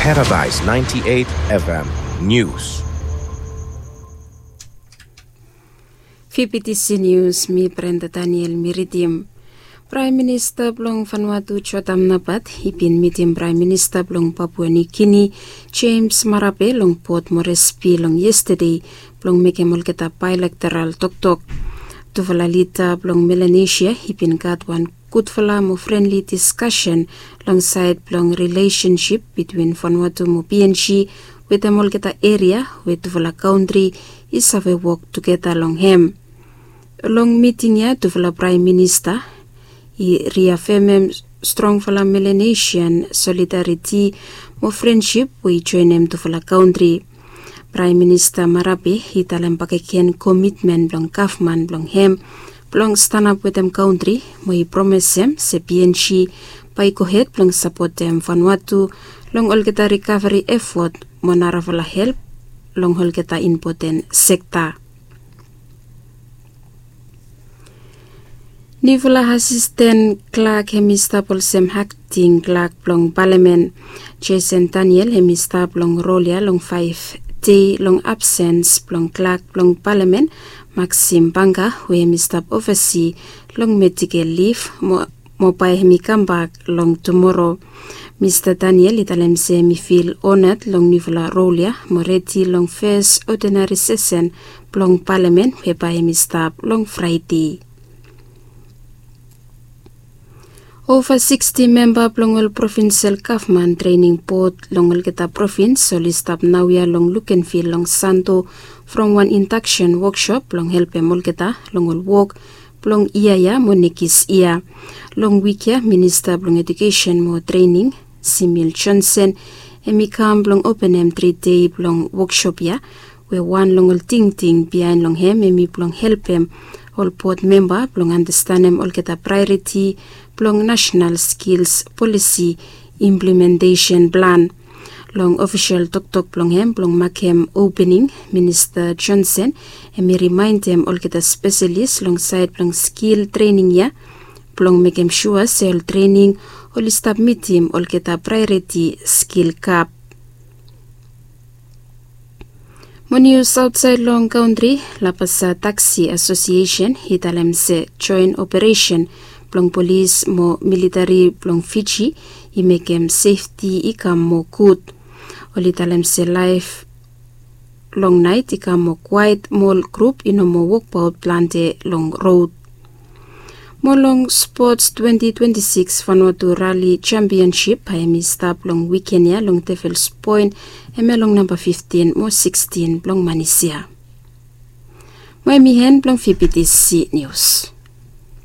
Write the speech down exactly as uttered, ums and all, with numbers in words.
Paradise ninety-eight F M News. Fifty C News, mi Brenda Daniel mi ridim. Praem Minista blong Vanuatu Jotam Napat i bin mitim Praem Minista blong Papua Niu Gini James Marape long Port Moresby long yestade blong mekem olgeta baelektoral toktok. Tufala lida blong Melanesia i bin gat wan gudfala mo frenli diskasen long saed blong rilesensip bitwin Vanuatu mo P N G wetem olgeta eria we tufala kantri i save wok tugeta long hem. Long miting ya tufala Praem Minista i riafemem strongfala Melanesian solidariti mo frensip we i joenem tufala kantri. Praem Minista Marape i talem bakegen komitmen blong gavman blong hem blong stanap wetem kantri mo i promesem se P N G bae i gohed blong sapotem Vanuatu long olgeta rikaveri efot mo narafala help long olgeta impoten sekta. Niufala asisten klak hem i stap olsem akting klak blong palamen. Jason Daniel hem i stap long rol ya long faef dei long absens blong klak blong palamen Maxim Banga we hem i stap ovasi long medikel lif mo mo bae hem i kambak long tumoro. Mista Daniel i talem se hem i fil onad long niufala rol ya mo redi long fes odinari sesen blong palamen we bae hem i stap long Fraede. Ova siksti memba blong ol provinsel gavman trening bod long olgeta provins oli stap naoia long lukenvil long Santo from wan indaksen wokshop blong helpem olgeta long ol wok blong yia ya mo nekis yia. Long wik ya minista blong edukesen mo trening Simil Johnson hem i kam blong openem tri dei blong wokshop ya we wan long ol tingting biaen long hem hem i blong helpem ol bod memba blong andastanem olgeta praeoriti blong nasenal skils polisi implementesen plan. Long ofisel toktok blong hem blong makem opening, Minista Johnson hem i rimaendem olgeta spesalis long saed blong skil trening ya blong mekem sua se ol trening oli stap mitim olgeta praeoriti skil gap. Mo nius aotsaed long kantri, Labasa Taksi Asosiesen i talem se joen operesen blong polis mo militari blong Fiji i mekem sefti i kam moa gud. Oli talem se laef long naet i kam moa kwaet mo ol grup i no moa wokbaot plante long rod. Mo long spots twenti twenti sikis Vanuatu Rali Jampionsip bae hem i stap long wiken ya long Devils Point, hemia long namba fiftin mo sikstin blong manis ya. Mo hem i hen blong V B T C Nius.